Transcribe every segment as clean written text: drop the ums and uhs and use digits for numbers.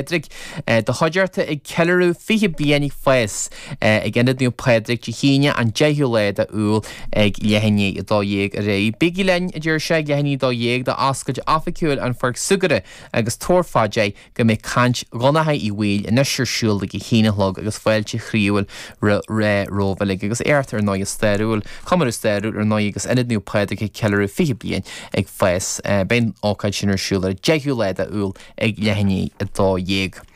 Pádraig do chuideachta ag ceiliúradh 20 bliain ag fás ag Ionad Naomh Pádraig Dé hAoine an 10ú lá de Iúil ag leath i ndiaidh 12 ar aghaidh. Bígí linn, a deir sé, ag leath i ndiaidh 12 do oscailt oifigiúil an Pháirc Súgartha agus tabhair fá dear go mbeidh caint Dhonncha Uí Bhaoill anois ar siúl ag a haon a chlog agus fáilte chroíúil romhaibh uilig agus éacht ar ndóigh stairiúil, comóradh stairiúil ar ndóigh agus Ionad Naomh Pádraig ag ceiliúradh 20 bliain ag fás. Beidh an ócáid sin ar siúl ar an 10ú lá de Iúil ag leath i ndiaidh 12.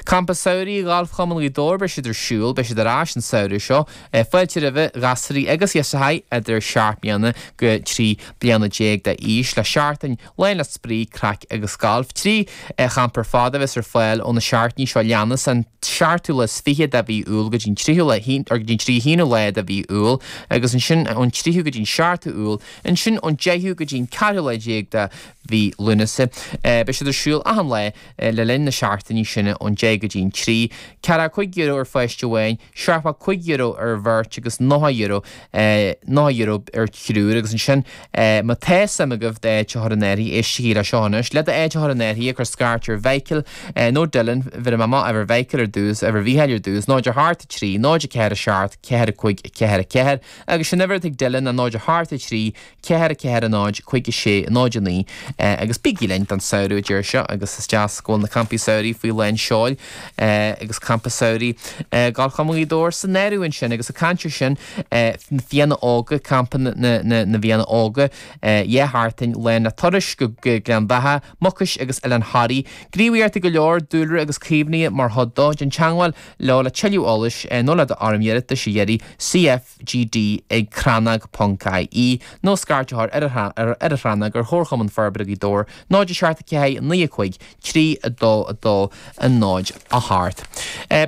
Campa Samhraidh Ghalfchumann Ghaoth Dobhair, beidh siad ar siúl, beidh siad ar ais an samhradh seo. Fáilte roimhe ghasraí agus ghirseachaí idir 7 mbliana go 13 bliana d'aois le seachtain lán le spraoi, craic agus galf. 3 champa ar fad a bheas ar fáil ó na seachtainí seo leanas, an seachtú lá is fiche de mhí Iúil go dtí an tríú lá, or go dtí an 31ú lá de mhí Iúil, agus ansin ón tríú go dtí an seachtú Iúil, ansin ón deichiú go dtí an ceathrú lá déag de mhí Lúnasa. Beidh siad ar siúl achan lá le linn na seachtainí sin ón 10 go dtí an 3. €45 ar pháiste amháin, €75 ar bheirt agus €90, €90 ar thriúr agus ansin má tá suim agaibh d'áit a chur in áirithe, éistigí le seo anois, le d'áit a chur in áirithe cuir scairt ar Mhichael nó Dylan, bhéarfaidh mé amach uimhir Mhichael ar dtús, uimhir Mhichíl ar dtús, 0 8 3 0 4 7 4 5 4 4 agus an uimhir atá ag Dylan ná 0 8 3 4 4 0 5 6 0 9 agus bígí linn don samhradh a deir seo agus is deas go bhfuil na campaí samhraidh faoi lán seoil agus campa samhraidh Galfchumann Ghaoth Dobhair san áireamh ansin agus ag caint ar sin na Fianna Óga, campa na bhFianna Óga, 2 sheachtain lán le turais go Gleann Bheatha, Mucais agus Oileán Thoraí. Gníomhaíochtaí go leor, dúlra agus caomhnaithe mar chuid dó. Déan teagmháil leo le tuilleadh eolais nó le d'fhoirm iarratais a iarraidh CF. GD ag crannóg ponc ie nó scairt a chur ar ar an chrannóg ar Chomharchumann Forbartha Ghaoth Dobhair 0 7 4 9 5 3 2 2 0 8.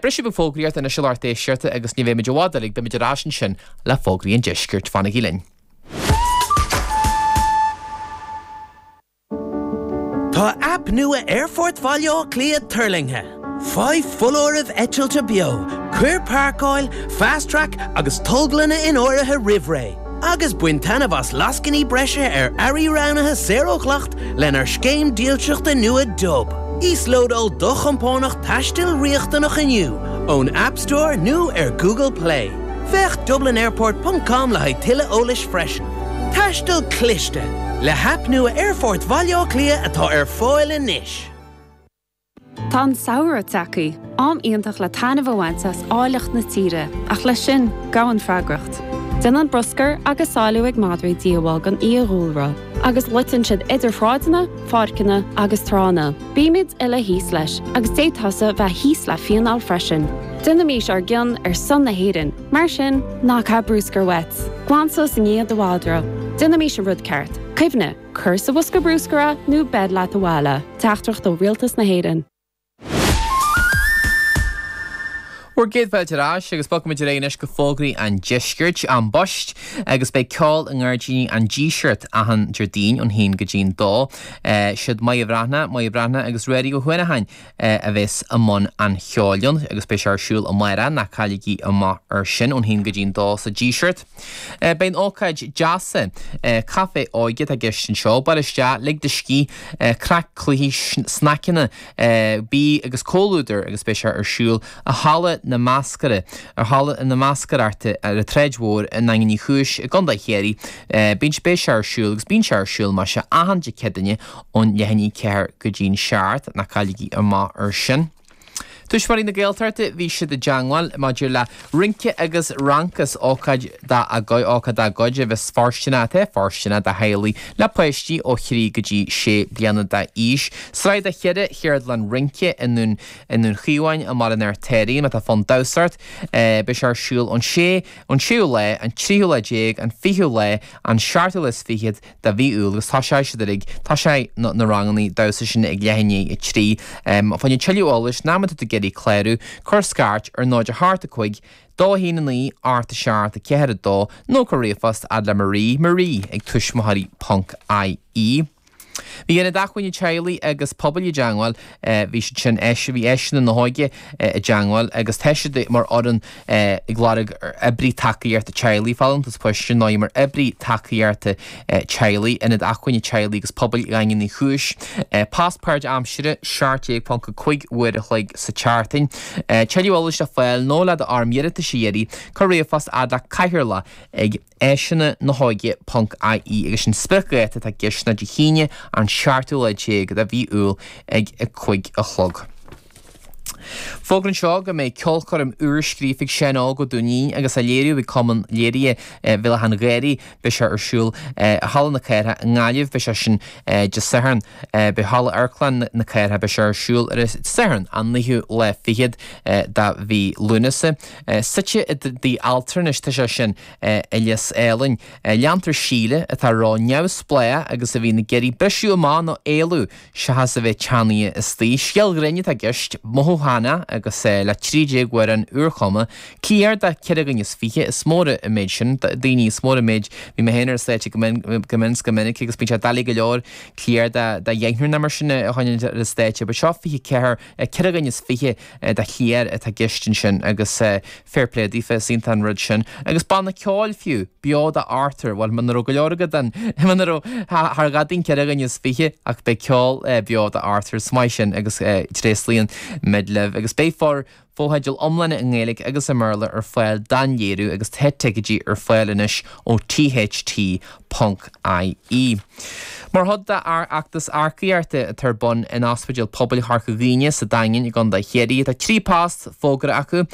Briseadh beag fógraíochta anois a lucht éisteachta agus ní bheidh muid i bhfad uilig, beidh muid ar ais ansin le fógraí an deiscirt. Fanaigí linn. Tá aip nua Aerfort Bhaile Átha Cliath tuirlingthe. Faigh foláirimh eitilte beo, cuir páirceáil, Fast Track agus tolglanna in áirithe roimh ré, agus bain taitneamh as lascainí breise ar earraí roghnaithe saor ó dhleacht lenár scéim dílseachta nua Dub. Íoslódáil do chompánach taistil riachtanach inniu ón App Store nó ar Google Play. Féach dublinairport ponc com le haghaidh tuilleadh eolais freisin. Taisteal cliste! Le haip nua Aerfort Bhaile Átha Cliath atá ar fáil anois. Tá an samhradh tagtha, am iontach le taitneamh a bhaint as áilleacht na tíre, ach leis sin, gabhann freagracht. Déanann bruscar agus sáiliú ag madraí díobháil don fhiadhúlra, agus loiteann siad idir shráideanna, pháirceanna agus tránna. Bímid uile thíos leis, agus d'fhéadfadh tusa bheith thíos le fíneáil freisin. Déanaimís ár gcion ar son na hÉireann, mar sin, ná caith bruscar uait. Glan suas i ndiaidh do mhadra. Déanaimís an rud ceart. Cuimhnigh, cuir sa bhosca bruscair é nó beir leat abhaile. Teachtaireacht ó Rialtas na hÉireann. Bhur gcéad fáilte ar ais agus bogfaimid ar aghaidh anois go fógraí an deiscirt, An Post, agus beidh ceol i nGairdíní an Dísirt achan Déardaoin ón haon go dtí'n dó. Siad Máire Bhreathnach, Máire Bhreathnach agus Ruairí Ó Huanacháin a bheas i mbun an cheoil ann agus beidh sé ar siúl amárach, ná cailligí amach ar sin, ón haon go dtí'n dó sa Díseart. Beidh an ócáid deasa, Caife Óige atá i gceist anseo, bail isteach, lig do scíth, craic, cluichí, snaiceanna, bia agus comhluadar agus beidh sé ar siúl i Halla na Mascaire, ar Halla na Mascaireachta ar an tSráid Mhór i nDaingean Uí Chúis i gContae Chiarraí. Bíonn, beidh sé ar siúl agus bíonn sé ar siúl más ea achan Dé Céadaoine ón leath i ndiaidh 4 go dtí'n 7, ná cailligí amach ar sin. Tuismitheoirí na Gaeltachta, bhí siad i dteangmháil maidir le Rince agus Rancas, ócáid dá ócáid dá gcuid a bheas fóirsteanach, atá fóirsteanach do theaghlaigh le páistí ó thrí go dtí sé bliana d'aois. Sraith de cheithre cheardlann rince i nDún i nDún Chaomháin i mBaile an Fheirtéaraigh, má tá fonn damhsa ort. Beidh sé ar siúl ón sé ón séú lá, an tríú lá déag, an fichiú lá, an seachtú lá is fichead, de mhí Iúil agus tosóidh siad uilig, tosóidh na ranganna damhsa sin ag leath i ndiaidh a 3. Fá choinne tuilleadh eolais nó má tá tú ag iarraidh clárú, cuir scairt ar 0 8 5 2 1 9 8 7 4 2 nó cuir ríomhphost fhad le Marie, Marie ag tuismitheoirí ponc ie. Bhí Ionad Acmhainne Teaghlaigh agus Pobail i dteangmháil, bhí siad sin, bhí Áiseanna na hÓige i dteangmháil agus tá siad mar fhoireann ag lorg oibrí tacaíochta teaghlaigh, folúntas poist ar ndóigh mar oibrí tacaíochta teaghlaigh, Ionad Acmhainne Teaghlaigh agus Pobail Dhaingean Uí Chúis. Post páirtaimseartha, 17.5 uair a chloig sa tseachtain. Tuilleadh eolais le fáil nó le d'fhoirm iarratais a iarraidh, cuir ríomhphost fhad le Cathaoirleach ag áiseanna na hóige ponc ie agus sin spriocdháta atá i gceist ná Dé hAoine an seachtú lá déag de mhí Iúil ag 5 a chlog. Fógra anseo go mbeidh ceolchoirm úr scríofa ag Seán Óg Ó Duinnín agus á léiriú ag Cumann Léirithe Bhéal Átha an Ghaorthaidh. Beidh sé ar siúl i Halla na Cathrach i nGaillimh. Beidh sé sin Dé Sathairn. Beidh Halla Amharclann na Cathrach, beidh sé ar siúl ar an Satharn an naoú lá fichead de mhí Lúnasa. Suite i dtigh altranais tá sé sin i Lios Álainn. Leantar Síle, atá ró-neamhspleách agus a bhíonn ag iarraidh briseadh amach nó éalú seachas a bheith teannaithe istoíche. Scéal grinn atá i gceist, mothúchánach agus le 13 amhrán úrchumtha. Cliar do cheithre dhuine is fiche, is mór an méid sin daoine, is mór an méid, bhí mé féin ar an stáitse go mion 's go minic agus bíonn sé doiligh go leor cliar do dheichniúr nó mar sin a choinneáil ar an stáitse, but seo 24, ceithre dhuine is fiche de chliar atá i gceist ansin agus fair play daofa, is iontach an rud sin. Agus banna ceoil fiú, beo do Arthur, bhuel muna raibh go leor agat den, muna raibh, thar ghadaín 4 dhuine is fiche ach beidh ceol beo do Arthur, is maith sin agus tréaslaíonn muid libh agus beidh for fotheidil iomlána i nGaeilge agus i mBéarla ar fáil don léiriú agus tá ticéidí ar fáil anois ó tht ponc ie. Mar chuid dá fheachtas earcaíochta atá ar bun in Ospidéal Pobail Chorca Dhuibhne sa Daingean i gContae Chiarraí, tá 3 post fógartha acu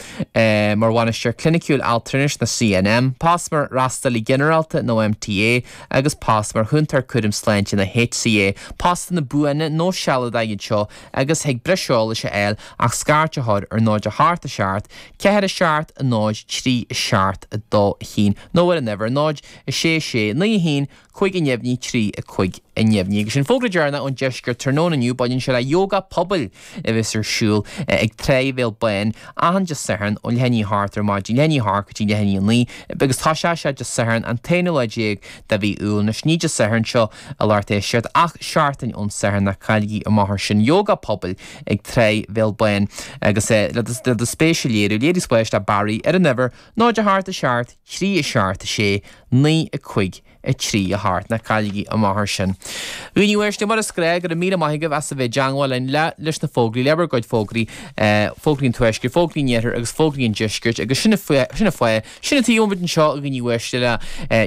mar Bhainisteoir Cliniciúil Altranais nó CNM, post mar Fhreastalaí Ginearálta nó MTA agus post mar Chúntóir Cúraim Sláinte nó HCA. Postanna buana nó sealadacha iad seo agus thig breis eolais a fháil ach scairt a chur ar 0 8 7 4 7 0 3 7 2 1 nó ar an uimhir 0 6 6 9 1 5 neamhní 3 5 neamhní. Agus sin fógra deireanach ón deisceart tráthnóna inniu, baineann sé le Yoga Pobail a bheas ar siúl ag Tráigh Bhéal Bán achan Dé Sathairn ó leath i ndiaidh a hocht ar maidin, leath i ndiaidh a hocht go dtí leath i ndiaidh a naoi, agus tosóidh sé Dé Sathairn an t-aonú lá déag de mhí Iúil. Anois ní Dé Sathairn seo a lucht éisteachta ach seachtain ón Satharn ná cailligí amach air sin. Yoga Pobail ag Tráigh Bhéal Bán agus le do spéis a léiriú, léirigh spéis le Barry ar an uimhir 0 8 7 3 7 6 9 5 3 8. Ná cailligí amach air sin. A dhaoine uaisle, mar is gnách, go raibh míle maith agaibh as a bheith i dteangmháil linn le leis na fógraí, le bhur gcuid fógraí, fógraí an Tuaiscirt, fógraí an Iarthair agus fógraí an Deiscirt agus sin an fáth, sin an tuige a bhfuil muid anseo, a dhaoine uaisle, le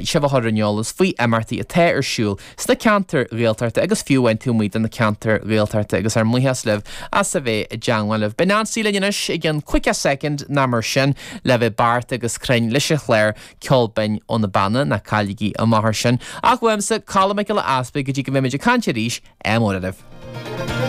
sibh a chur ar an eolas faoi imeachtaí atá ar siúl sna ceantair Ghaeltachta agus fiú amháin taobh amuigh de na ceantair Ghaeltachta agus ár mbuíochas libh as a bheith i dteangmháil libh. Beidh Nancy linn anois i gcionn cúpla soicind nó mar sin le bheith beart agus cruinn leis an chlár Ceol Binn ó na Beanna, ná cailligí amach air sin. Ach uaimse, Colm Mac Giolla Easpaig, go dtí go mbeimid ag caint arís, ádh mór oraibh.